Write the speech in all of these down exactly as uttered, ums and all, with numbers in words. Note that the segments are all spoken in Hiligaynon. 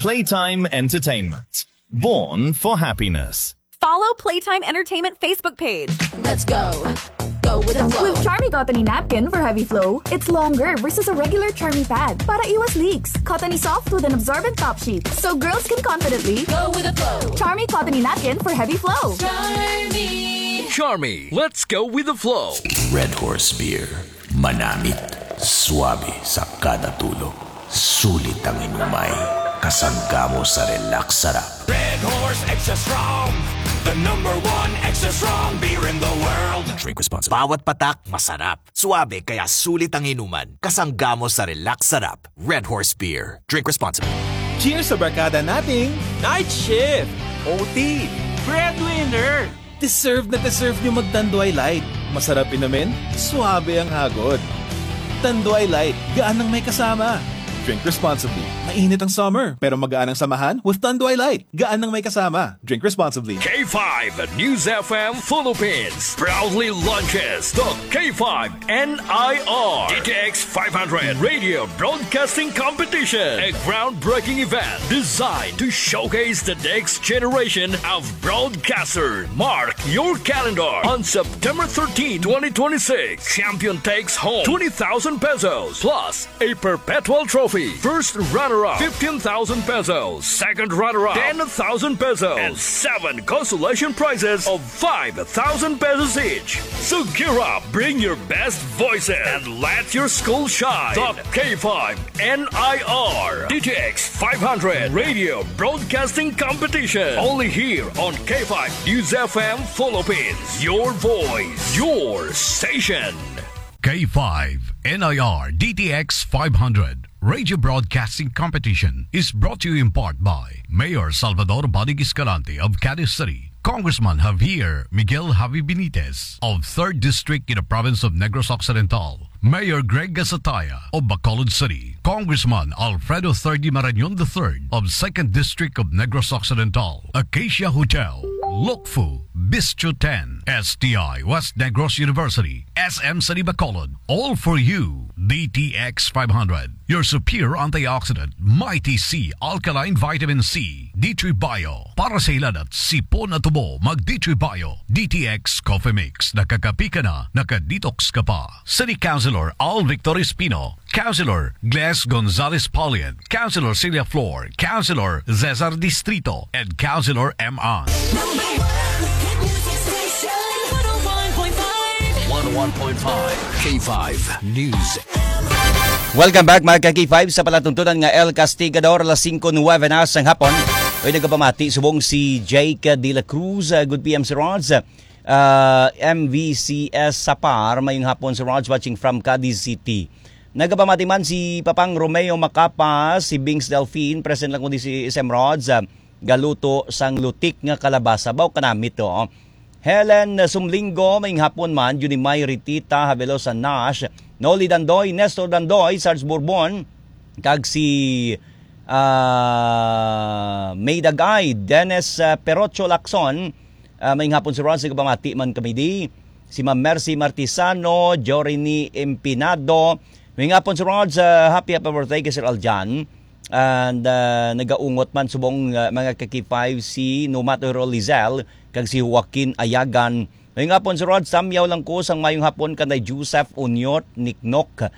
Playtime Entertainment. Born for happiness. Follow Playtime Entertainment Facebook page. Let's go. Go with the flow. With Charmy Cottony Napkin for heavy flow, it's longer versus a regular Charmy pad para iwas leaks. Cottony soft with an absorbent top sheet, so girls can confidently go with the flow. Charmy Cottony Napkin for heavy flow. Charmy. Charmy, let's go with the flow. Red Horse Beer. Manamit, suabe sa kada tulo. Sulit ang inumay, kasangga mo sa relax sarap. Red Horse Extra Strong, the number one extra strong beer in the world. Drink responsibly. Bawat patak, masarap. Suabe, kaya sulit ang inuman. Kasangga mo sa relax sarap. Red Horse Beer. Drink responsibly. Cheers sa barkada nating night shift, O T, breadwinner. Deserve na deserve nyo mag Tanduay Light. Masarap inumin, suabe ang hagod. Tanduay Light, gaan ang may kasama. Drink responsibly. Mainit ang summer, pero magaan ang samahan with Tanduay Light. Gaan ang may kasama. Drink responsibly. K five News F M Philippines proudly launches the K five N I R D T X five hundred Radio Broadcasting Competition, a groundbreaking event designed to showcase the next generation of broadcasters. Mark your calendar on September thirteenth, twenty twenty-six. Champion takes home twenty thousand pesos plus a perpetual trophy. First runner-up, fifteen thousand pesos. Second runner-up, ten thousand pesos. And seven consolation prizes of five thousand pesos each. So gear up, bring your best voices, and let your school shine. The K five N I R D T X five hundred Radio Broadcasting Competition. Only here on K five News F M Philippines. Your voice, your station. K five N I R D T X five hundred Radio Broadcasting Competition is brought to you in part by Mayor Salvador Bonig Escalante of Cadiz City, Congressman Javier Miguel Javi Benitez of third District in the province of Negros Occidental, Mayor Greg Gasataya of Bacolod City, Congressman Alfredo Third Marañon the third of second District of Negros Occidental, Acacia Hotel, Lokfu, Bistro ten, S T I West Negros University, S M City Bacolod, all for you, D T X five hundred, your superior antioxidant, Mighty C alkaline vitamin C, D three Bio, para sa hilanat, sipon at tubo, mag D three Bio, D T X Coffee Mix, nakakapi ka na, naka-detox ka pa. City Councilor Al Victor Espino, Councilor Gles Gonzalez Paulian, Councilor Celia Flor, Councilor Cesar Distrito, and Councilor M. An. Number one hit music station, one oh one point five. One oh one point five K five News. Welcome back, mga ka-K five, sa palatuntunan nga El Castigador, alas singko nuwebe na sang hapon. Oy, nagapamati subong si Jake de la Cruz. Uh, good P M, Sir Rods. Uh, M V C S Sapar, mayong hapon, Sir Rods, watching from Cadiz City. Nagapamati man si Papang Romeo Macapas, si Bings Delfin, present lang kundi si S M Rods, ah, galuto sang lutik nga kalabasa. Baw kanamit to, oh. Helen Sumlingo, mayong hapon man, Junimay Ritita, Havelosa Nash, Noli Dandoy, Nestor Dandoy, Sarge Bourbon, kag si, ah, May Dagay, Dennis, ah, Perocho Lacson, Ah, mayong hapon, Sir Ron. Sige, pamati man kami di. Si Ma'am Mercy Martisano, Jorini Empinado. Mayong hapon, Sir Ron, sa happy, happy birthday kay Sir Aljan. And, ah, nagaungot man subong, ah, mga ka-K five si Numa Toro Lizelle kag si Joaquin Ayagan. Mayong hapon, Sir Ron. Samyaw lang ko sang mayong hapon kanay Joseph Unyot Niknok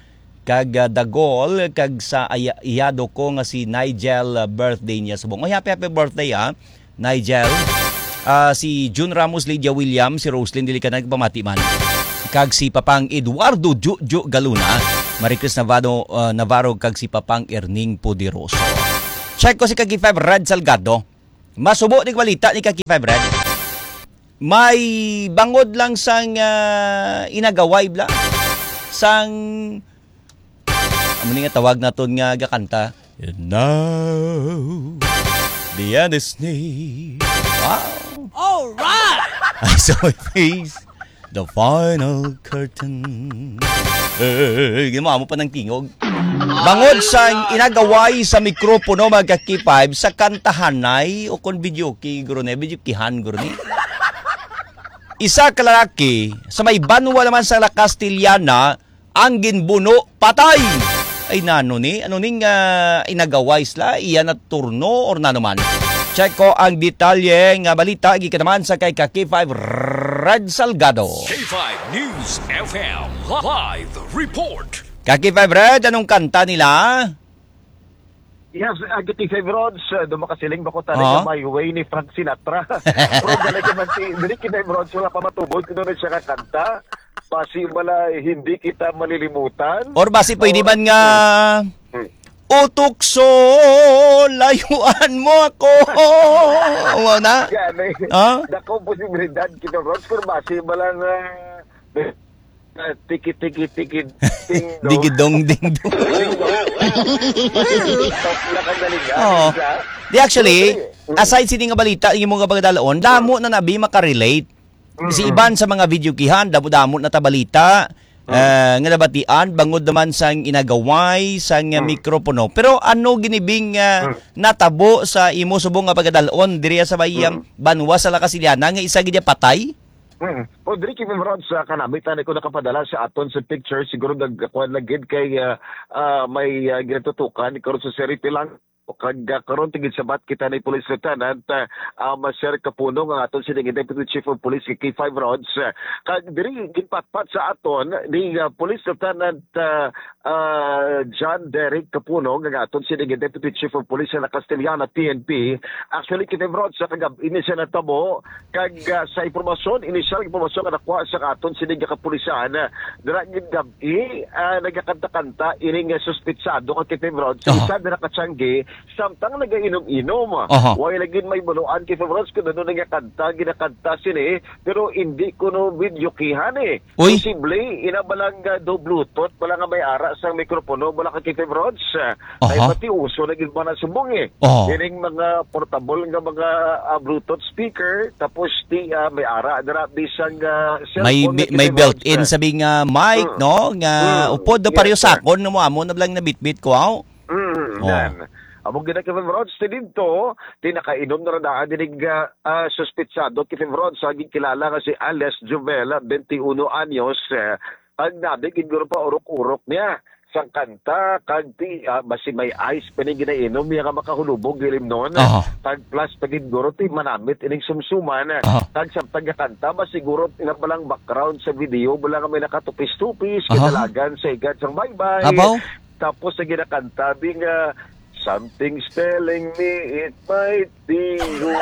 kag, ah, Dagol, kag sa aya-, iyado ko nga si Nigel, ah, birthday niya subong. Oy, happy, happy birthday, ah, Nigel. Ah, si Jun Ramos, Lydia William, si Roslyn, dili ka nagpamati man. Kag si Papang Eduardo Juju Galuna, Maricris Navarro, ah, Navarro, kag si Papang Erning Poderoso. Check ko si Kaki Five Red Salgado. Masubo ni balita ni Kaki Five Red. May bangod lang sang, ah, inagaway bla. Sang Amo ni nga tawag naton nga gakanta. And now, the end is near. Wow! All right! I saw my face. The final curtain. Eh, ginawa mo pa ng tingog. Bangod sa inagaway sa mikropono, mga ka-K five, sa kantahanay o kon videoke, guro ni, videokehan, guro ni. Isa ka lalaki sa may banwa naman sa La Castellana, ang ginbuno patay. Ay, nano ni? Ano ning, ah, inagaway sila? Iya na turno or nano man? Check ko ang detalye nga balita gikan naman sa kay ka K five Red Salgado. K five News F M live report. Ka K five Red, anong kanta nila? Yes, uh, K five Rods, uh, do makasiling ba ko tani Ah? nga My Way ni Frank Sinatra? Pero galing naman si, dili K five Rods, wala pa matubod kung ano siya kakanta. Basi wala, hindi kita malilimutan. Or basi pwede Or man nga, Hmm. "O tukso, layuan mo ako." Amo na? Gani. Ah? Dako posibilidad kita, Rods, pero basi wala nga, ah, tiki, tiki, tiki, ting, dong. Digidong, ding, dong. Top na kagalingan, Oo. isa. Di, actually, Okay. Mm. aside sini nga balita, yung mga pagdalaon, damo na nabi makarelate. Si Mm-mm. iban sa mga videokihan, damo-damo na ta balita, Mm. eh, nga nabatian, bangod naman sang inagaway, sang, ah, Mm. mikropono. Pero ano ginibing, ah, Mm. natabo sa imo subong nga pagkadalon diri sa bayang Mm. banwa sa La Castellana nga isa gid niya patay? Mm. O, diri kay Ma'am Rod, sa kanami, tani ko nakapadala sa aton sa picture, siguro nagkakuan lang gid kay, ah, ah, may, ah, ginatutukan, karon sa Seri Pilang, kag, ah, karon tigid sabat kita ni Police Lieutenant, ah, ah, Maser Kapunong, ang aton sini nga Deputy Chief of Police kay K five Rods, ah, kag diri ginpatpat sa aton ni, ah, Police Lieutenant, ah, ah, John Derek Kapunong, ang aton sini nga Deputy Chief of Police sa La Castellana P N P. Actually, K five Rods, sa kagab-, ini siya natabo, kag, ah, sa impormasyon, inisyal nga impormasyon nga nakuha sa aton sini nga kapulisan, ah, dira gid gab-i, ah, nagakanta-kanta ini nga suspetsado nga K five Rods, Aha. isa dira ka tiyangge, samtang nagainom-inom. Aha. Way lagi may baluan K five Rods kung ano nga kanta, ginakanta sini, pero hindi kuno videokihan eh. Uy. Posible, ina ba lang, ah, do Bluetooth, bala nga may ara sang mikropono, bala ka K five Rods, ah, Aha. ay pati uso na gid ba na subong eh. Aha. Kining mga portable nga mga, ah, Bluetooth speaker, tapos ti, ah, may ara dira bisang, ah, May cellphone bi-, na may kinahanglan built-in sa sabi nga mic, Mm. no? Nga Mm. upod na Yes, pareho sir. sakon na mo amo na lang nabitbit ko, aw. Mm, Oh. yan. Amo gid na kay Rods, ti didto, ti nakainom na ra daan dinig, ah, ah, suspetsado kay Rods, sa gikilala nga si alias Jovel, twenty-one anyos, eh, ang nabi gid guro pa urok-urok niya sang kanta, kag ti, ah, basi may ice pa ni ginainom niya nga makahulubog gilimnon. Aha. Kag plus pa gid guro ti manamit ining sumsuman. Aha. Kag samtang gakanta, ba siguro ina pa lang background sa video, wala nga may nakatupis-tupis, Aha. kadalagan sa igad sang baybay. Abaw? Tapos sa ginakanta, di nga, "Something's telling me it might be you."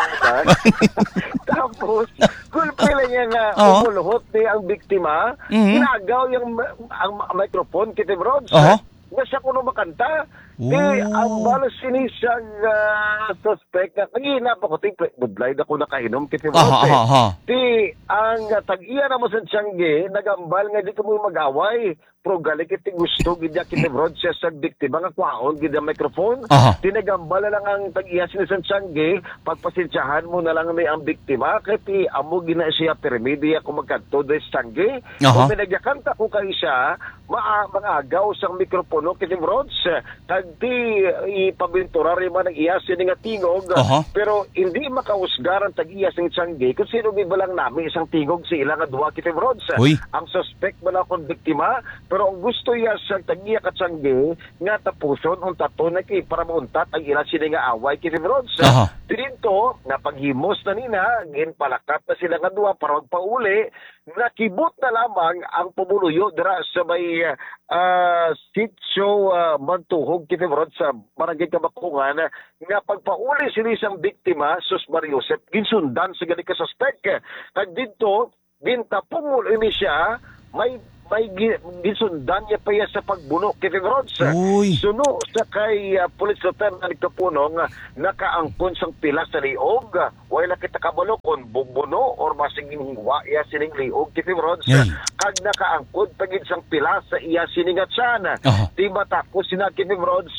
Tapos, gulpi lang niya nga Oo. umulhot ni ang biktima, Mhm. ginagaw yung ma-, ang ma-, microphone, Kitty Broads. Aha. Nga siya kuno makanta. Di, Oh. ang balas sini siya, ah, suspect nga, kagina pa ko, ti, budlay na ko nakainom, Kitty Aha, Broads, eh. aha, aha. Ti, ang, ah, tag-iya naman sa tiyangge, nagambal nga di kamo mag-away. Pero gali kay ti gusto gid niya, Kitty Broads, siya sa biktima nga kwaon gid ang microphone. Aha. Ti nagambal na lang ang tag-iya sini sa tiyangge, pagpasensyahan mo na lang ni ang biktima, kay ti amo gina siya, pirmi di ako magkadto diri sa tiyangge. Aha. Kung may nagyakanta ko kay siya, maa-, mangagaw sang mikropono, Kitty Broads, kag ti ipabinturar man ang iya sini nga tingog, Aha. pero hindi makausgar ang tag-iya sing tiyangge kung sino gid ba lang nami sang tingog sa ila nga duha, Kitty Broads. Uy. Ang suspect bala kon biktima, pero ang gusto iya sa tag-iya ka tiyangge nga tapuson untaton na kay para mauntat ang ila sini nga away, Kitty Broads. Aha. Didto, napaghimos na nina, ginpalakat na sila nga duha para magpauli, nakibot na lamang ang pumuluyo dira sa may, ah, Sitio, ah, Mantuhog, Kitty Broads, sa Barangay Kabakungan, nga pagpauli sini sang biktima, sus Maria Josep, ginsundan sa gani ka suspek. Kag didto, gintapungol ini siya, may, may gi-, ginsundan niya pa iya sa pagbuno, Kitty Broads. Uy. Suno sa kay, ah, Police Lieutenant Kapunong, nakaangkon sang pila sa liog, Way lang kita kabalo kon bubuno or basig ginhiwa iya sining liog, Kitty Broads. Ay. Kag nakaangkod pa gid sang pila sa iya sini nga tiyan. Aha. Ti matakos sina, Kitty Broads,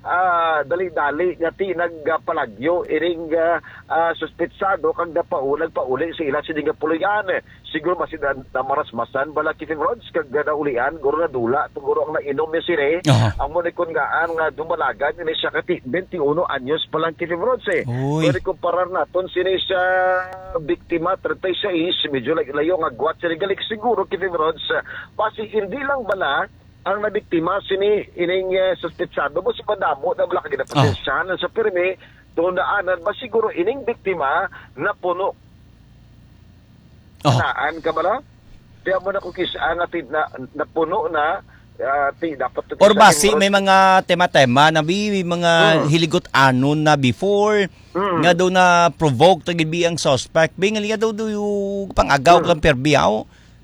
ah, dali-dali nga ti nagpalagyo ining, ah, ah, suspetsado kag napau-, nagpauli sa ila sini nga puloy-an. Siguro basi na, namarasmasan bala, Kitty Broads, kag naulian, guro nadula, guro ang nainom niya sini. Aha. Amo ni kon ngaan nga dumalagan ini siya kay twenty-uno anyos pa lang, Kitty Broads, eh. Uy. Pero kumparar naton sini sa biktima, treinta y seis, medyo lay-, layo nga gwat sini. Galik siguro, Kitty Broads, basi hindi lang bala Ang nabiktima sini ining, eh, suspetsado, basi madamo na bala ka ginapasensyahan sa pirmi, tundaanan ba siguro ining biktima napuno Oh. Naan ka bala? Kaya mo na kung kis-, ah, nga ti-, na, napuno na, ah, ti-, dapat to Or kisa basi, siguro may mga tema-tema na bi-, may mga Hmm. hiligot-anon na before, Hmm. nga daw na-provoke ta gid bi ang suspect. Bi, nga daw, daw yung pang-agaw Hmm. kang perbiyaw.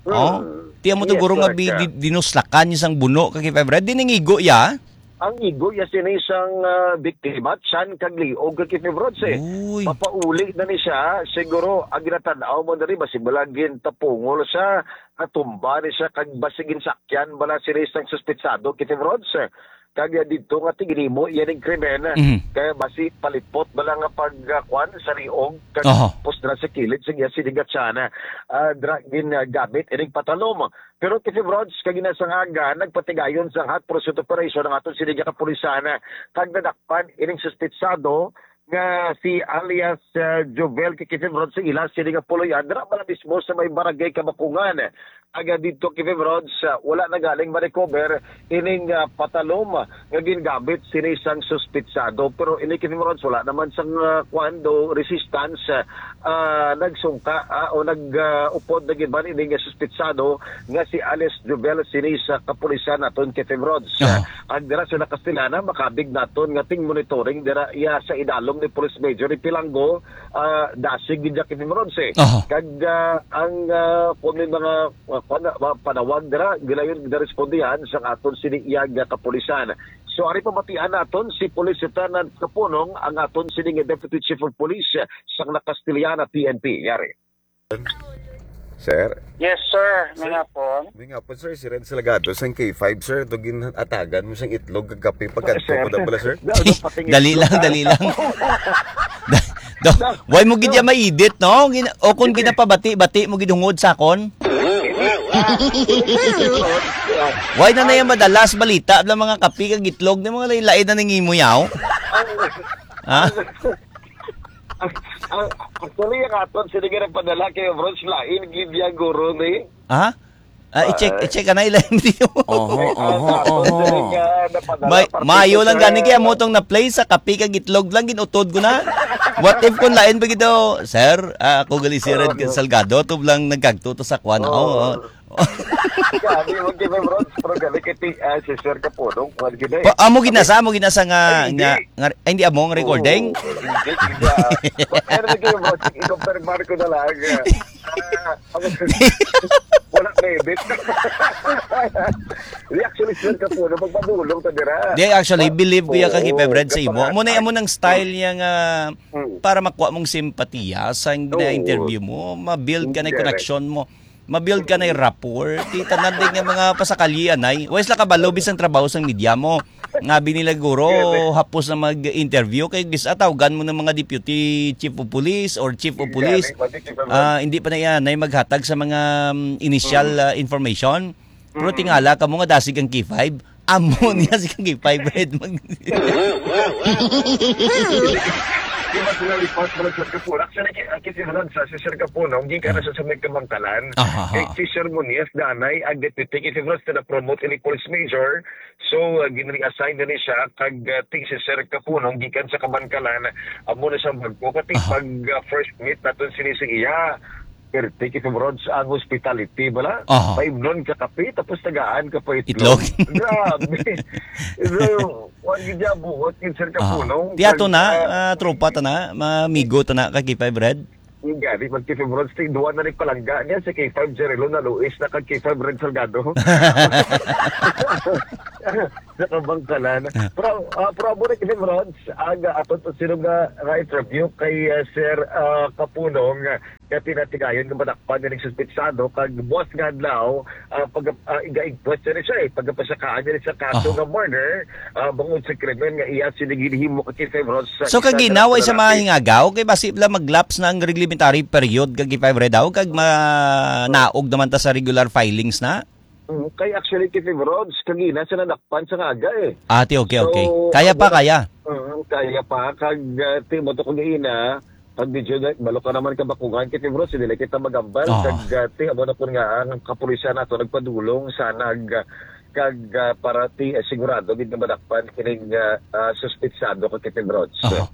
Hmm. Oh, tiyan mo Yes, to guro nga correct bi-, ka. di-, dinuslakan niya sang buno kag K five Red. Di nangigo ya. Ang igo ya sini sang, ah, biktima, tiyan kag liog kag K five Rods, eh. Uy. Mapauli na ni siya, siguro, ang ginatanaw mo na rin, basi bala gintapungol siya, natumba ni siya, kag basi ginsakyan bala sini sang suspitsado, K five Rods, eh. Kag, ah, dito nga tiginimo, yan ang krimen, eh. Mhm. Kaya basi palipot bala nga pag, ah, kwan, sa liog, kag Aha. pustra sa kilid, sa iya sini nga tiyan, eh. Ah, dra-, gin, ah, gamit, ining patalom. Pero K five Rods, kag ginasangaga, nagpatigayon sang hot pursuit operation ang aton sini nga kapulisan, kag nadakpan ining suspitsado nga si alias, uh, Jovel kay K five Rods sa ila sini nga puloy-an. Dira bala mismo sa may barangay Kabakungan. Aga dito K five Rods, uh, wala na galing ma-recover ining, uh, patalom nga gingamit sini sang suspitsado. Pero ini K five Rods, wala naman sang, uh, kwan do resistance, uh, ah, nagsungka, ah, o nag, ah, upod na gid man ini nga suspitsado nga si alias Jovel sini sa kapulisan naton, K five Rods. Aha. Ang dira sa Nakastilana, makabig naton nga ting monitoring dira iya sa idalom ni Police Major Ipilanggo, ah, dasig gid ya, K five Rods, eh. Aha. Kag, ah, ang, ah, kung may mga, ah, pana-, mga panawag dira, gilayon na respondihan sang aton sini iya nga kapulisan. So, ari pamatian naton si Police Lieutenant Kapunong, ang aton sini nga Deputy Chief of Police, sang Nakastilana P N P. Yari. Sir? Yes, sir. May Sir? hapon. May nga po, sir. Si Red Salgado, sang K five, sir. Ito ginatagan mo sang itlog kag kape pagkadto Sir. ko na pala, sir. Dali lang, dali lang. Da-, do, why mo gid ya ma-edit, no? Gina-, o kung Hindi. ginapabati-bati mo gid hungod sa akon? Why na na yung madalas balita, bla mga kape kag itlog, na mga lain-lain na nangimo yaw? Ha? Ang, ang, actually, ang aton sini nga nagpadala kay Bros, lain gid ya, guro, ni? Ha? Ah, i-check, Ah, i-check ka na, ilain mo. Oho, Ang oho, aton oho. sini nga napadala, May, particular maayo lang sa gani kaya mo tong na-play sa kape kag itlog lang, ginutod ko na. What if kung lain pa gito, sir? Ah, ako gali si Red Oo. Salgado, to lang nagkagto to sa kwan. Oo. Oo, oo. Grabe, wag kayo, bro. Pero gali kay ti-, ah, si Sir Kapunong, wag gid eh. Pa, amo ginasa, amo ginasa nga, Ay, hindi. nga, nga, ay, hindi amo nga recording? Oo, hindi, hindi. Pero lagi, bro, sige, i-confirm ko na lang. Ah, wala, baby. Di, actually, Sir Kapunong, magpadulong ta dira. Di, actually, believe ko ya kag Oo, ipe-friend sa imo. Amo na, amo nang style niya nga Mm. para makuha mong simpatiya sa Oo. na-interview mo, ma-build ka na yung Correct. connection mo. Ma-build ka na yung rapport. Di tanan din nga mga pasakalyi, anay. Wais lang kabalo, bisan trabaho sang media mo. Nga binila guro, Correct. hapos na mag-interview. Kay gis-, ah, tawgan mo ng mga deputy chief of police or chief of police. Correct. Pati chief of Ah, hindi pa na yan ay maghatag sa mga, um, initial, Mm. ah, information. Pero Mm. tingala ka mo nga dasig ang K five. Amo niya si Kang K five Red mag- Di ba sila report mo sa Sir Kapunong? Actually, ki-, ang kisimulan sa si Sir Kapunong, gikan na Ah. sa, sa may Kabangkalan. Aha, Kay aha. si Sir Monias, danay, ang deputy, kasi bro, sila promote ni police major. So, uh, ginreassign na ni siya, kag, uh, ting si Sir Kapunong, gikan sa Kabangkalan, amo na siyang bagko. Kati Aha. pag, uh, first meet naton sini sa iya, Perti kay Rods ang hospitality, bala? Aha. Paimnon ka kape, tapos tagaan ka pa itlog. Itlog. Grabe. So, wag gid niya buot yung Sir Aha. Kapunong. Tiyato Pag, na, ah, ah, tropa ta na, mamigo ta na kay K five Red. Gani, mag K five Rods, ting duwa na ni palangga niya, si K five Jerry Luna Luis na kag K five Red Salgado. Sa Kabangkalan. Ah. Pero, ah, pero amo na, K five Rods, ang, ah, aton to sino nga, nga interview kay, ah, Sir, ah, Kapunong, ah, kaya pinatigayon nga madakpan nga nagsuspitsado kag buwas nga adlaw, ah, pag, ah, iga-igpwat siya ni siya, eh, pagkapasakaan niya ni sa kaso Aha. nga murder, ah, bangod sa krimen nga iya sini ginhimo kay K five Rods sa So, isa kagina, nga way sa mga lalaki. Hingagaw, kay basi bala mag-lapse na ang reglementary period kag K five Red daw, kag ma-, naog naman ta sa regular filings na? Mm, kay actually, K five Rods, kagina sa nadakpan sa nga aga, eh. Ah, ti, okay, okay. So, Kaya pa, amo na, kaya? mm, kaya pa. Kag, ah, ti, mo to kagina, pag medyo na, balo ka naman kabakungan, K five Rods, hindi na kita magambal. Ah. Kag, ah, ti, amo na po nga, ang kapulisan nato nagpadulong sa nag, ah, kag, ah, para ti, eh, sigurado gid nga madakpan kining, ah, ah, suspitsado ka Kevin Rods. Aha.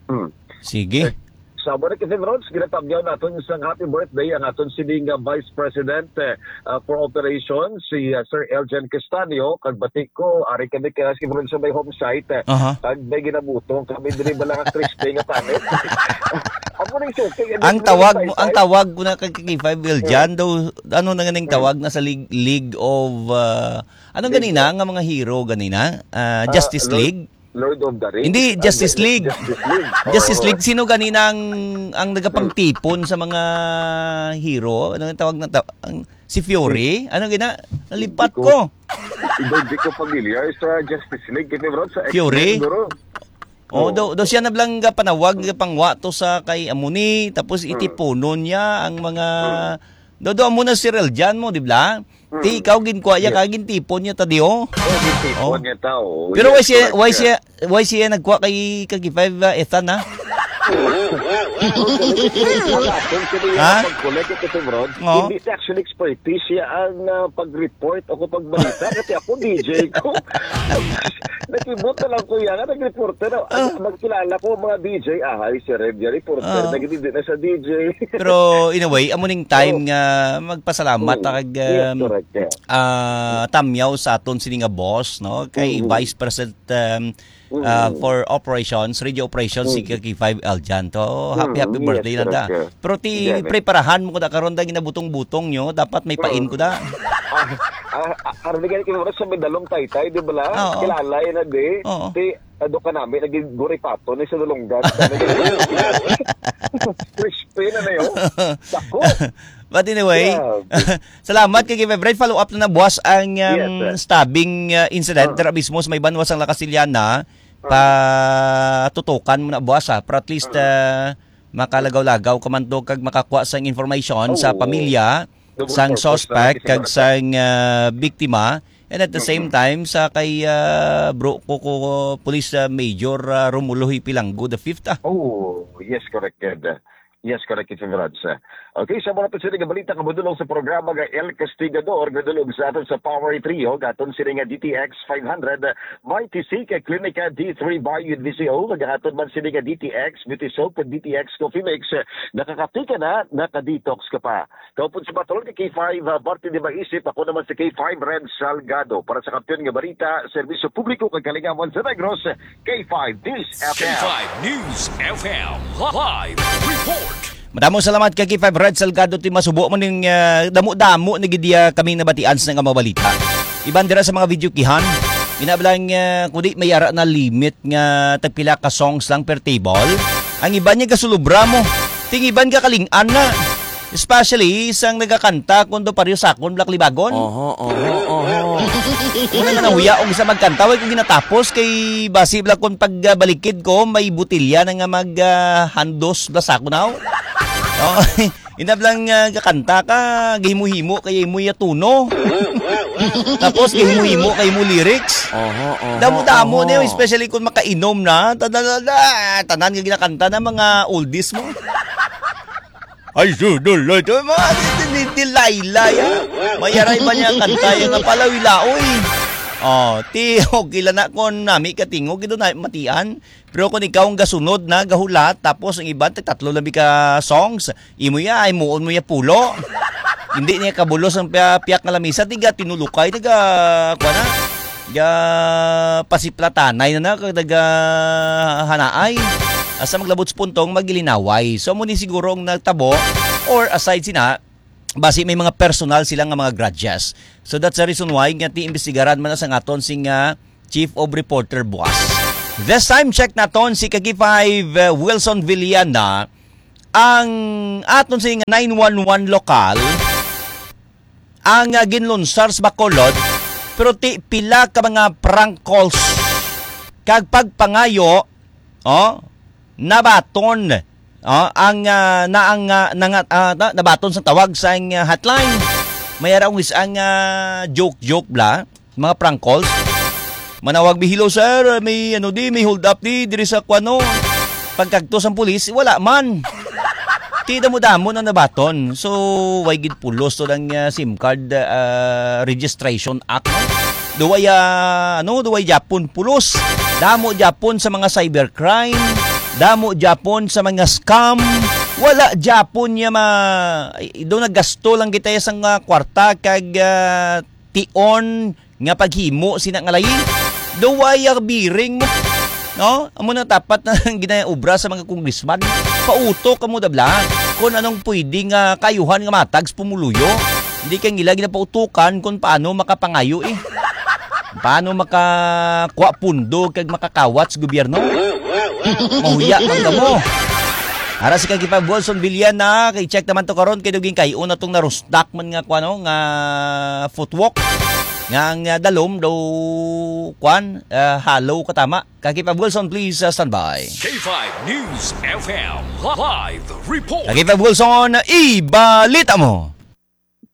Hmm. Sige. Eh, sa amo na, Kevin Rods, ginatamyaw naton isang happy birthday ang aton sini nga Vice President, eh, ah, for Operations, si, ah, Sir Eljan Castanio, kag bati ko, ari kami ka, Kevin Rods, sa may home site, eh, Aha. kag may ginabutong kami diri bala nga crispy nga panit. Amo nang suki, ano Ang yung tawag mo, ang tawag mo na kay K five Eljan, daw, ano na ganing Hmm. tawag na sa League, League of, ah, ano League ganina of nga mga hero ganina? Ah, Ah, Justice Lord, League? Lord of the Rings? Hindi, Ah, Justice Ju-, League. Justice League. Justice Oo. League. Sino ganina ang, ang nagapagtipon sa mga hero? Ano ang tawag na ta-, ang, si Fury? Ano gina? Nalipat Hindi ko, ko. hindi, hindi ko familiar sa Justice League. Kasi, bro, sa Fury? X-Men, bro. Oh, Oo. do, do siya na blang panawag, pangwa to sa kay Amuni, tapos Hmm. itipunon niya ang mga, Hmm. do, do, amo na si Real Jan mo, di ba? Hmm. Ti, ikaw, ginkuha niya Yes. ka, gintipon niya ta, di, oh. Oh, gintipon Oh. niya ta, oh. Pero Yes, why siya, correct why ka. siya, why siya nagkuha kay, kay five, uh, Ethan, ha? Wala akong sabi Ha? nga pag-collect ito, bro. Oo. Hindi siya actually expertise siya ang, ah, pag-report o pagbalita. Kasi ako, D J ko. Nakibot na lang ko yan, nag-reporter. Ah. Ano, magkilala ko mga D J, ah, hi, si Red, yung reporter, Ah. nag-, hindi na sa D J. Pero in a way, amo ning time Oh. nga magpasalamat Oo. ta kag, Yes, um, correct, yeah. ah, tamyaw sa aton sini nga boss, no? Kay Mm. Vice President, um, ah, Mm. for Operations, Radio Operations, si Mm. Kaki Five Aljan to. Happy, Mm, happy yes, birthday na da. correct, yeah. Pero ti, Yeah, man. preparahan mo ko da karon da ginabutong-butong nyo, dapat may pain Mm. ko da. Ah, ah, ah, aron di gani kay sa may dalong taytay, di ba la? Oo. Kilala yun na di. Oo. Ti, ado ka namin, naging guripato ni sa dulunggan. Crispy na na yun. Dako. But anyway, Yeah. salamat kay Kevin. Bright follow-up na nabuwas ang, um, Yes, sir. stabbing, uh, incident. Ah. Dira mismo sa may banwa sang La Castellana. Ah. Patutukan mo na buwas, ha. Pero at least, Ah. uh, makalagaw-lagaw ka man to kag makakuha sang information sa Oo. pamilya Double sang purpose suspect talaga si kag Martha. sang, ah, biktima, and at the same Mm-mm. time sa kay, ah, bro, ko, ko, Police, ah, Major, ah, Romulo Hipilango the fifth, ah. Oh, yes, correct, Ed. Yes, correct, Kevin Rods. Okay, sa mga pagsiling nga balita, kabudulong sa programa nga El Castigador, gadulong sa aton sa Power Trio, gaton sini nga D T X five hundred, Mighty C kay Clinica D three Bio with V C O, kag aton man sini nga D T X Beauty Soap, D T X Coffee Mix, nakakatika na, naka-detox ka pa. Kaupod sa Batol kay K five, ah, Martin de Maisip. Ako naman si K five Red Salgado. Para sa Kampiyon nga Balita, Serbisyo Publiko kag Kalingawan sa Negros, K five News F M. K five News F M Live Report. Madamo salamat kay K five Red Salgado, ti masubo mo ning, ah, damo-damo na gid, ah, kami nabatian sa nga mga balita. Iban dira sa mga video kihan, ina lang, ah, kundi may ara na limit nga tagpila ka songs lang per table. Ang iban niya gasulubra mo, ting iban gakaling-an na. Especially sang nagakanta kun do pareho sa akon, Black Libagon. Oho, oho, oho. Una nga nahuya og sa magkanta, way ko ginatapos kay basi bala kun pagbalikid ko, may butilya na nga mag, ah, handos bala sa akon, aw. Oh, inab lang, ah, gakanta ka, gahimo-himo kay imo ya tuno. Tapos gahimo-himo kay imo lyrics. Oho, oho, Damo-damo oho. niyo, especially kung makainom na. Tanan, tanan nga ginakanta na mga oldies mo. Ay, sudol na ito. Mga di, di, di, di, laylay, ah. Mayaray ba niya kanta yung nga palawilaoy? Oh, ti, okay lang na kung nami katingog, ito na matian. Pero kung ikaw ang gasunod na, gahulat, tapos ang iban, tatlo lang ka songs, imo ya, ay muon mo ya pulo. Hindi niya kabulos ang piya-, piyak nga lamisa, tiga tinulukay, tiga, kuha na. Ga pasiplatanay na na, kag nagahanaay. Asa maglabot sa puntong, magilinaway. So, amo ni siguro ang nagtabo, or aside sina, basi may mga personal sila nga mga grudges. So, that's the reason why nga ti imbestigaran man na sa ngaton sing, ah, Chief of Reporter Buas. This time, check naton si Kaki five, uh, Wilson Villana, ang aton sing nine one one lokal, ang, ah, ginlunsar sa Bacolod, pero ti pila ka mga prank calls kag pagpangayo, oh, nabaton, oh, ang, ah, na ang, ah, nanga-, ah, na-, nabaton sa tawag sa ang, ah, hotline. May ara ang is-, ang, ah, joke-joke bla, mga prank calls. Manawag mi, "Hello, sir, may ano di, may hold up di diri sa kuano." Pagkagto sang pulis, wala man. Ti damo-damo na nabaton. So, way gid pulos to lang, ah, SIM card, ah, Registration Act, no? Duway, ah, ano, duway Japon pulos. Damo Japon sa mga cybercrime. Damo Japon sa mga scam. Wala Japon niya ma... Ay, do naggasto lang kita sa nga kwarta kag, ah, tion nga paghimo sina nga layi. Duway ang biring mo. No? Amo na dapat na ang ginaobra sa mga congressman. Pautok kamo dabla kung anong pwede nga kayuhan nga matag sa pumuluyo. Hindi kay nila ginapautukan kung paano makapangayo eh. Paano makakuha pundo kag makakawat sa gobyerno? Mahuya man kamo. Ara si Kagipa Wilson Villana, kay check naman to karon kay duging kay una tong narustak man nga kuno nga footwalk nga ang, ah, dalom daw kuan, ah, hollow katama. Kagipa Wilson, please, ah, standby. K five News F M live report. Kagipa Wilson, ibalita mo.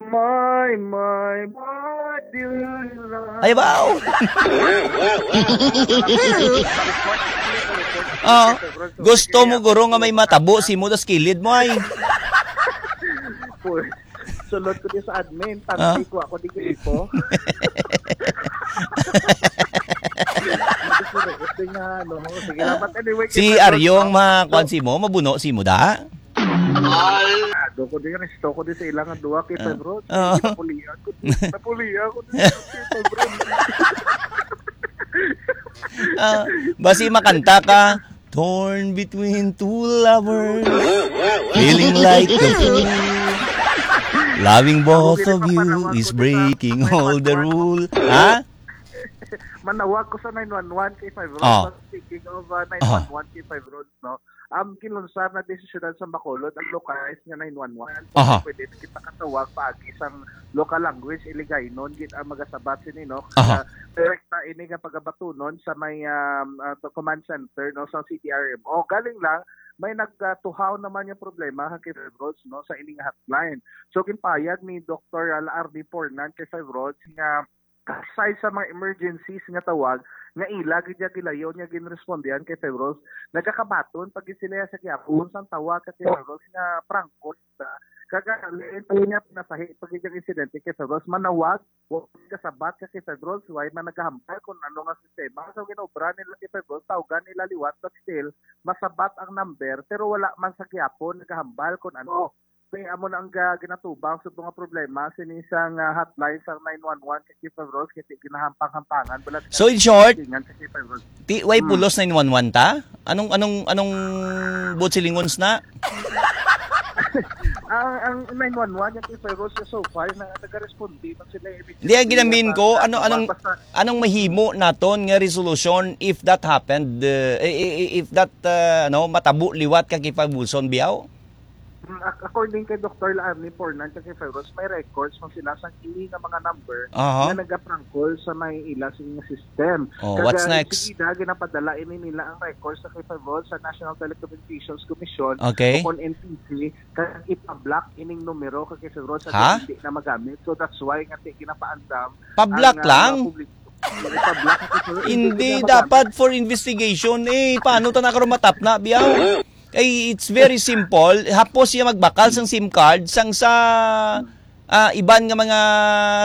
My, my, my, do you love Ay, wow. Oh, gusto mo guro nga may matabo si mo tas kilid mo ay. Uy, sulod ko di sa admin, Ah? Tanti ko ako di gripo. Gusto ko rin nga, ano, sige lang. But anyway, Si Kevin Aryo ang Ross, mga kwan so, si mo, mabuno si mo da? Ado ko din, resto ko din sa ilang duwa kay Ah. Pedro. Oo. Napulian ko din. Napulian ko din sa Pedro. Ah, basi makanta ka, "Torn between two lovers, feeling like a fool. Loving both of you is breaking all the rule." Ha? Manawag ko sa nine one one kay Pedro. Oh. Speaking of, uh, nine one one kay Pedro, no? Ang gilunsad na desisyon sa Bacolod ang localized nga nine one one. Aha. Pwede na kita katawag paagi sang local language, Iligaynon, gid ang magasabat sini, no? Aha. Kaya direkta ini nga pagabatunon sa may, um, uh, to command center, no, sa C D R M O. Galing lang, may nagtuhaw naman yung problema, ha, kay Febros, no, sa ining hotline. So, ginpayag ni Doktor Lardy Pornan kay Febros nga aside sa mga emergencies nga tawag, nga ila gid niya gilayon nga ginrespondihan kay Febros, nagakabaton pa gid sila sa gihapon sang tawag ka kay Febros nga prangko ta. Kag lain pa niya pinasahi pa gid ang insidente kay Febros, manawag, wa kasabat ka kay Febros, way man nagahambal kung ano nga sistema. So, ginobra nila kay Febros, tawgan nila liwat, but still, masabat ang number, pero wala man sa gihapon nagahambal kung ano. Kay amo na ang ga-, ginatubang sa mga problema sini sang, ah, hotline sang nine one one kay Kiefer Rose, kay ginahampang-hampangan, wala So, in short, gingan kay Kiefer Rose. Ti, way Hmm. pulos nine one one ta? Anong, anong, anong buot silingons na? Ang, ang nine one one, yung Kiefer Rose, so far, na nagaresponde man sila immediately. Hindi, ang ginamin ko, Sa, ano, sa anong, basta anong mahimo naton nga resolution if that happened, uh, i-, i-, i-, if that, uh, ano, matabo liwat ka kay Kiefer Wilson, biyaw? Mm, ac-, according kay Doktor Laarni Pornan, kay Fevros, may records man sila sa ini nga mga number Aha. nga nagaprangkol sa may ila sa ilang system. Oh, Kag, what's ah, next? Sige, ginapadala ini nila ang records sa kay Fevros sa National Telecommunications Commission Okay. o kon N T C, kag ipa-block ining numero kay Fevros sa Ha? hindi na magamit. So that's why nga ti-, ginapaandam Pablock ang, ah, lang? mga public-, ipa-block kay Fevros, Hindi hindi na magamit. dapat for investigation eh. Paano ta na karon matapna, biyaw? Kay it's very simple. Hapos siya magbakal sang SIM card, sang sa, ah, iban nga mga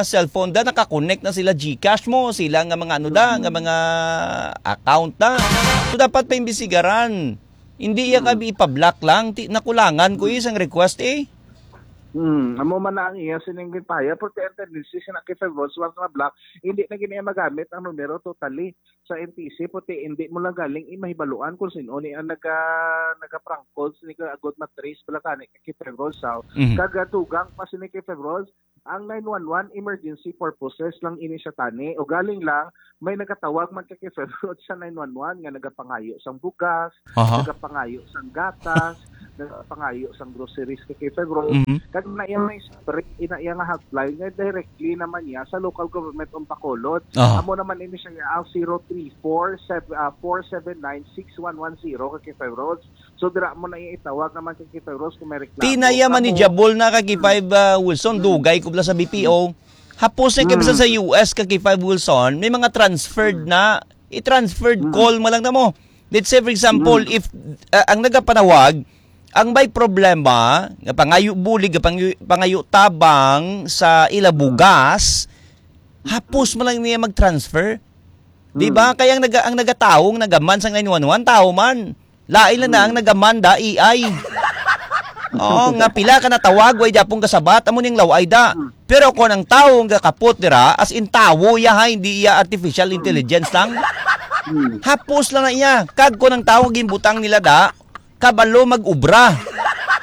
cellphone da, nakakonect na sila GCash mo, sila nga mga ano da, nga mga account da. So, dapat paimbestigaran. Hindi iya Hmm. ka ipa-block lang. Ti-, nakulangan ko isang request eh. Hmm, amo man na ang iya sining gipaya, pero ang tendency siya na kay Fevros, once na-block, hindi na gini magamit ang numero totally. Sa N T C, puti, hindi mo lang galing imahibaluan kung sino ni ang naga-, nagaprangkol, sino ka agod matrace pala kani kay Fevros, so, Mhm. kagatugang pa sini kay Fevros, ang nine one one emergency purposes lang ini siya tani. O galing lang, may nagatawag man kay Fevros sa nine one one nga nagapangayo sang bugas, Aha. nagapangayo sang gatas, nagapangayo sang groceries kay Fevros. Mhm. Kag na iya may spray, ina iya nga hotline nga directly naman niya sa local government on Bacolod. Ah. Amo naman ini siya ang zero three four seven, ah, four seven nine six one one zero kay Fevros. So, dira mo na itawag naman kay Fevros kung may reklamo. Tinaya Amo, manageable na kay Mm. Five, ah, Wilson, Mm. dugay ko bala sa B P O. Hapos na kay Mm. sa U S ka kay Five Wilson, may mga transferred Mm. na, i-transferred Mm. call mo lang na mo. Let's say, for example, Mm. if, ah, ang nagapanawag, ang may problema, nga pangayo bulig, nga pangayo, pangayo tabang sa ila bugas, Hapos man lang niya mag-transfer. Di ba? Hmm. Kaya ang naga-, ang nagatawo, ang nagaman sang nine one one, tao man. Lain lang na ang, hmm, nagaman da, A I. Oo, nga pila ka natawag, way japon kasabat, amo ning laway da. Hmm. Pero kung ang tawo nga kapot dira, as in tawo iya, ha, hindi iya artificial, hmm, intelligence lang. Hmm. Hapos lang na iya. Kag kung ang tawo ginbutang nila da, kabalo mag-ubra.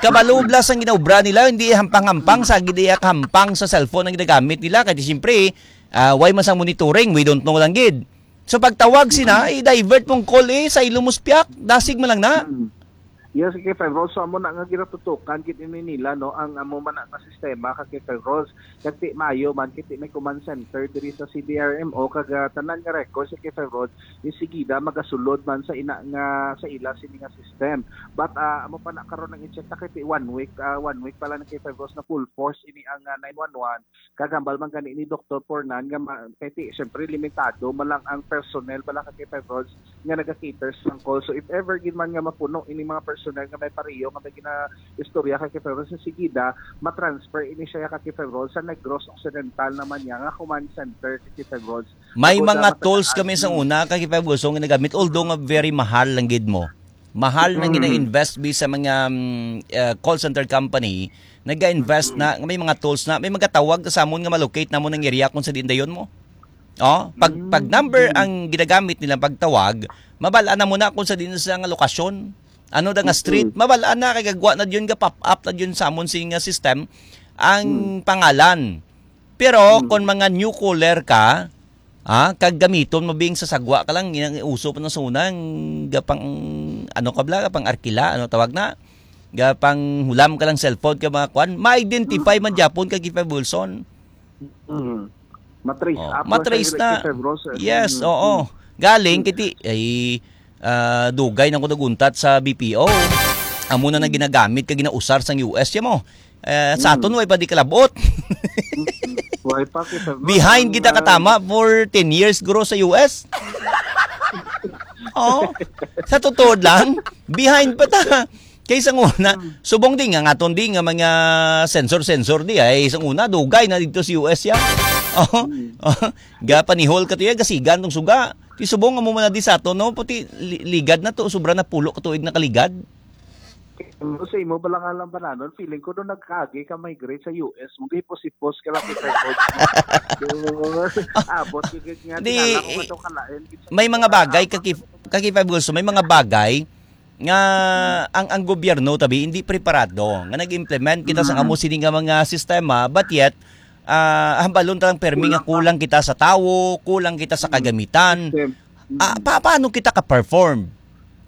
Kabalo bala sang ginaubra nila, hindi hampang-hampang sa, hindi iya hampang sa cellphone ang ginagamit nila. Kaya siyempre, ah, way man sang monitoring, we don't know lang gid. So pagtawag sina, mm, i-divert mong call eh, sa ilo mo spiak, dasig man lang na. Mm. Yes, kay Febro, so amo na nga ginatutukan gid ini nila, no, ang amo man na nga sistema ka kay Febro. Kag ti maayo man, kay ti may command center diri sa C D R M O, kag, ah, tanan nga records kay Febro, yung sigida magasulod man sa ina nga, sa ila sini nga system. But, ah, amo pa na karon ang i-check ta kay ti one week, ah, one week pa lang kay Febro na full force ini ang, ah, nine one one. Kag hambal man gani ni Doktor Pornan nga ma-, kay ti, syempre, limitado man lang ang personnel bala ka kay Febrods nga naga-cater sang call. So, if ever gid man nga mapuno ini mga personnel nga may pareho nga may ginaistorya kay Febrods, sa sigida, matransfer ini siya ka kay Febrods sa Negros Occidental naman niya nga command center kay Febrods. May mga tools kami sa una, kay Febrods, nga nagamit, although nga very mahal lang gid mo. Mahal na, mm, gina-invest bi sa mga, mm, uh, call center company, nag-invest na, may mga tools na, may magatawag sa amon nga ma-locate namon ang area kung sa diin dayon mo. Oh, pag, pag number ang ginagamit nila pagtawag, mabal-an na mo na kung sa diin sa nga lokasyon. Ano da nga street, mabal-an na, kay gagwa na yun, ga-pop up na yun sa amon sing, uh, system ang pangalan. Pero kung mga new caller ka, ah, kag gamiton mo bing sa sagwa ka lang, ginang uso pa na sa una, ang gapang, ano ka bala, gapang arkila, ano tawag na? Gapang hulam ka lang cellphone ka mga kwan, ma-identify man gyapon ka kay Feb Wilson. Mm. Matrace up man sa Feb Wilson. Yes, oo. Galing, kiti, ay, ah, dugay na ko naguntat sa B P O. Amo na na ginagamit ka, ginausar sang U S, ya mo. Eh, sa aton, way pa di kalabot. Way pa kita, bro. Behind kita katama for ten years, guro, sa U S. Oh, sa totoo lang, behind pa ta. Kay sang una, subong di nga, nga aton di nga mga sensor-sensor di, ay sang una, dugay na dito sa U S yan. Oh, oh, ga panihol ka to yan, gasigan tong suga. Ti subong nga mo man na di sa aton, no? Pati li-, ligad na to, sobra na pulo ka tuig nakaligad. Ano sa imo, bala nga lang bananon, feeling ko nung nagkagi ka migrate sa U S, mong hipos-hipos ka lang kita, coach. Abot, gigit nga, di, tingala ko nga to kalain. May mga bagay, kaki-, kaki Five Gusto, may mga bagay nga ang, ang gobyerno, tabi, hindi preparado. Nga nag-implement kita sa amo sini nga mga sistema, but yet, ah, hambalon ta lang permi nga kulang kita sa tawo, kulang kita sa kagamitan. Ah, pa-, paano kita ka-perform?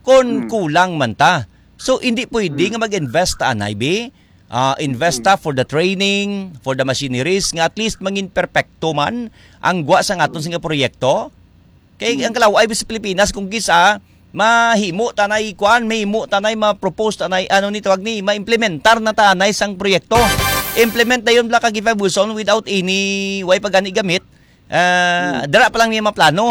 Kon kulang man ta. So, hindi pwede nga mag-invest ta anay, bi? Ah, invest ta for the training, for the machineries, nga at least mangin perpekto man ang gwa sa aton nga proyekto. Kay ang kalaw-ay sa Pilipinas, kung kisa, mahimo tanay kuan, mahimo tanay ma-propose tanay, ano ni tawag ni, ma-implementar na tanay sang proyekto. Implement na yun, Black Agify Wilson, without any, way pa gani gamit. Ah, dara pa lang niya maplano.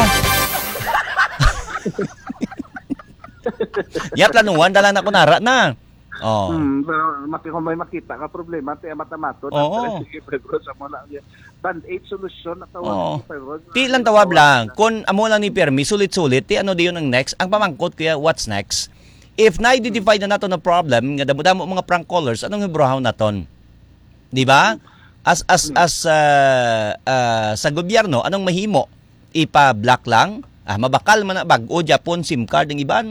Ya, planuhan na lang ako nara na. Oh. Hmm, pero maki-, kung may makita ka problema, ti, mata-mato, oo, sige, pero sa mo lang yan. Band-aid solution, ang tawag, oo, sa fibroids. Ti lang tawag lang. Kung amo lang ni Permi, sulit-sulit, ti ano diyon ang next? Ang pamangkot, kuya, what's next? If na-identify na nato na problem, nga damo-damo mga prank callers, anong hibrahon naton? Di ba? As, as, as, ah, ah, sa gobyerno, anong mahimo? Ipa-block lang? Ah, mabakal man na bag-o, Japon, SIM card ang iban.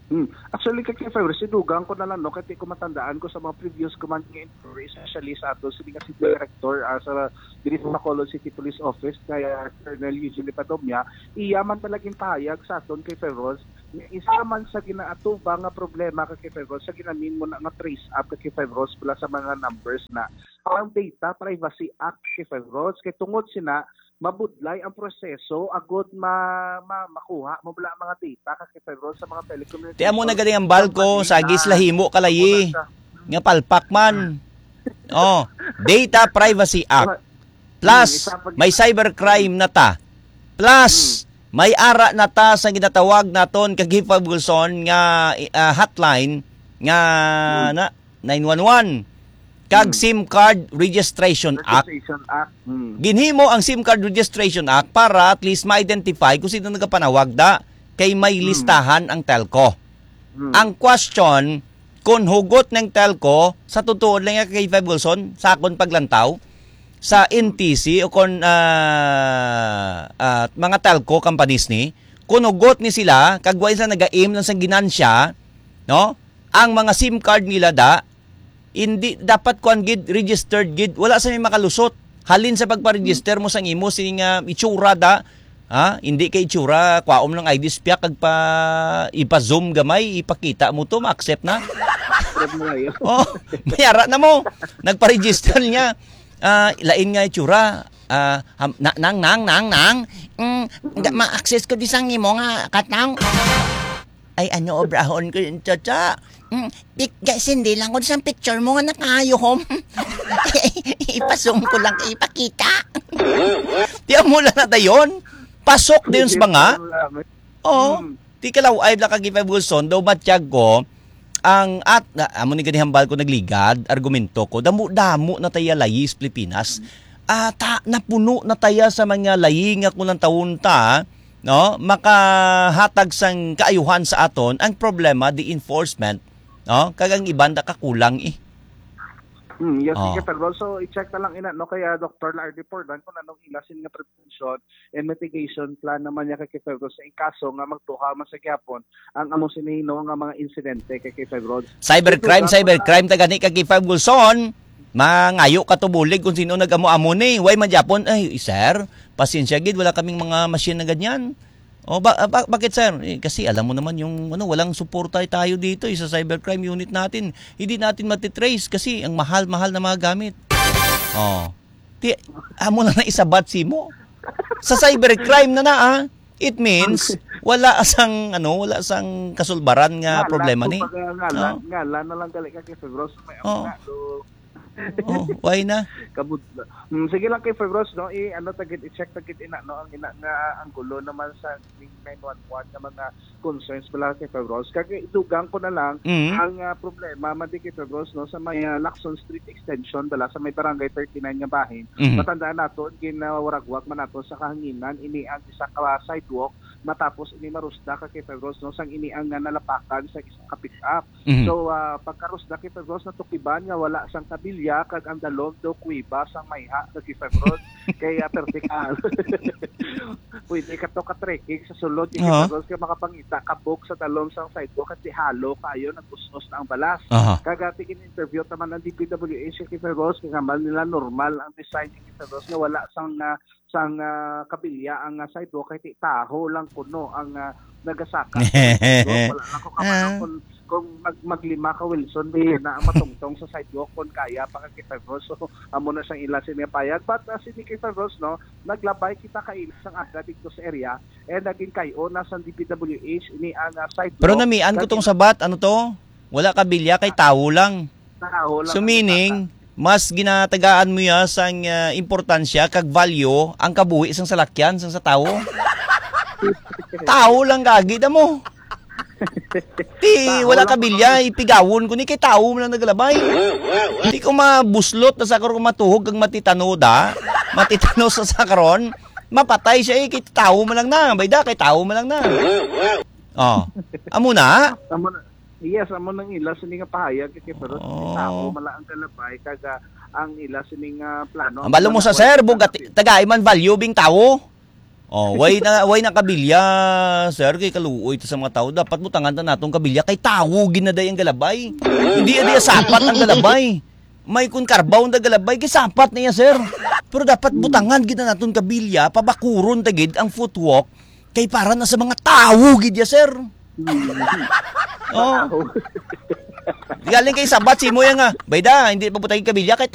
Hmm. Actually, kay, kay February, sinugang ko na lang, no? Kaya ko matandaan ko sa mga previous command nga inquiry, especially sa ato, sige nga si Director, ah, sa, diri sa Bacolod City Police Office, kaya Colonel Eugene Padomia, iya man talagang pahayag sa aton kay February, nga isa man sa ginaatubang nga problema ka kay February, sa ginamin mo na nga trace up ka kay February, wala sa mga numbers na ang Data Privacy Act kay February, kay tungod sina, mabudlay ang proseso agud ma-, ma-, makuha mo bala ang mga data ka kay Febron sa mga telecommunication company. Ti amo na gani ang balko, sagis lahimo kalayi nga palpak man. Oh, Data Privacy Act. Plus, may cybercrime na ta. Plus, may ara na ta sa ginatawag naton kag Febulson nga, ah, hotline nga na nine one one. kag Hmm. SIM Card Registration Act. Registration Act. Hmm. Ginhimo ang SIM Card Registration Act para at least ma-identify kung sino nagapanawag da kay may Hmm. listahan ang telco. Hmm. Ang question, kung hugot ng telco, sa totoo lang nga kay Five Wilson, sa akon paglantaw, sa N T C o kon, ah, ah, mga telco companies ni, kung hugot ni sila, kag wa sila nag-aim lang sa ginansya, no? Ang mga SIM card nila da, hindi dapat kuan gid, registered gid, wala sa may makalusot. Halin sa pagpa-register mo sang imo sing, ah, itsura da, ha? Hindi kay itsura, kwaom lang I D spiak kag pa ipa-zoom gamay, ipakita mo to, ma-accept na. Accept mo kayo. Oh, mayara na mo. Nagpa-register niya. Ah, lain nga itsura. Ah, ham- na- nang, nang, nang, nang. Mm, nga ma-access ko di sang imo nga katang. Ay, ano, obrahon ko yun, Chacha? Mm, pik- ga- sindi lang ko sa picture mo nga nakaayo, hom. Ipasong ko lang, ipakita. Di amo lang na dayon. Pasok dayon sa mga. Oo. Hmm. Ti kalaw-ay lang kag Five Wilson, daw matyag ko, ang at, na, amo ni gani hambal ko nagligad, argumento ko, damo-damo na taya layi sa Pilipinas. Ah, ta, napuno na taya sa mga layi nga kung ang taon ta, no, makahatag sang kaayuhan sa aton. Ang problema, the enforcement, no, kag ang iban da kakulang eh. Hmm, yes, Oh. Kay Febro. So, i-check na lang ina, no, kay, ah, Doctor Lardy Pordan kung anong ila sin nga prevention and mitigation plan naman niya kay Febro sa ing kaso nga magtuha man sa gihapon ang amo sini, no, nga mga insidente kay Febro. Cybercrime, Ito, cybercrime, tagani kag Five Wilson. Mangayo ka tubulig kung sino nag-amo-amo ni. Way man gyapon, ay, sir, pasensya gid, wala kaming mga machine na ganyan. Oh, ba, ba- bakit, sir? Eh, kasi alam mo naman yung, ano, walang suporta tayo dito eh, sa cybercrime unit natin. Hindi natin matitrace kasi ang mahal-mahal na mga gamit. Oh. Ti, amo na na isabat si mo. Sa cybercrime na na, ah. It means, wala sang, ano, wala sang kasulbaran nga Ngalan, problema ni. Kumbaga, ngalan, Oh. ngalan na lang gali ka kay Febro, so may Oh. amo na, so, Oh, why na? Kabudla. Mm, sige lang kay Febros, no? I, ano, tagid, i-check tagid ina, no? Ang ina nga anggulo naman sa nine one one nga mga concerns pala kay Febros. Kag idugang ko na lang, Mm. ang, ah, problema man di kay Febros, no, sa may, ah, Lacson Street Extension, bala sa may Barangay thirty-nine nga bahin. Mhm. Matandaan nato, ginawaragwag man nato sa kahanginan ini ang isa ka sidewalk matapos ini marusda ka kay Febros, no, sang ini ang, ah, nalapakan sa isa ka pick-up. Mhm. So, ah, pagkarusda kay Febros, natukiban nga wala sang kabilya kag ang dalom daw kuweba sang mayha kay Febros. Kay, ah, pertikal. Pwede ka to ka-trekking sa sulod kay Oo. Febros kay makapangita ka buk sa dalom sang sidewalk kasi halo kayo nag-us-os na ang balas. Aha. Kag, ah, tigin-interview taman ang D P W H kay Febros kay kamal nila normal ang design kay Febros nga wala sang, ah, sang, ah, kabilya ang, ah, sidewalk kay ti taho lang kuno ang, ah, nagasaka. Wala lang ko kabalo Ah. kung, kung mag-, maglima ka, Wilson, di na ang matungtong sa sidewalk kung kaya pa ka kay Febros. So, amo na siyang ila sini nga payag. But, ah, sini kay Febros, no, naglabay kita kaila sang aga dito sa area and naging kayo na sa D P W H ini ang, ah, sidewalk. Pero namian ko tong sabat, ano to? Wala kabilya kay tawo lang. Tawo lang So, ang meaning, nagasaka. Mas ginatagaan mo ya sang, ah, importansya kag value ang kabuhi sang salakyan sang sa tawo. Tawo lang gagi da mo. Ti, Tawo wala lang kabilya, ipigawon ko ni kay tawo man lang nagalabay. Di ko mabuslot na sa karon matuhog kag matitano da. Matitano sa sa karon. Mapatay siya eh, kay tawo man lang na. Bayda, kay tawo man lang na. Oh. Amo na. Amo na. Yes, amo nang ila sini nga pahayag kay Febros. Oh. Tawo man lang ang galabay kag, ah, ang ila sini nga plano. Ang balo mo sa sir, bug at tagai man value bing tawo. Oh, way na, way na kabilya, sir, kay kaluoy ta sa mga tawo. Dapat butangan ta natong kabilya kay tawo ginaday ang galabay. Hindi, hindi sapat ang galabay. May kun karbaw na galabay, kay sapat na iya, sir. Pero dapat butangan gid na naton kabilya, pabakuron ta gid ang footwalk, kay para na sa mga tawo gid ya, sir. Hmm. Oh. Tawo. Galing kay sabat si mo yan nga. Bayda, hindi pa butangin kabilya, kay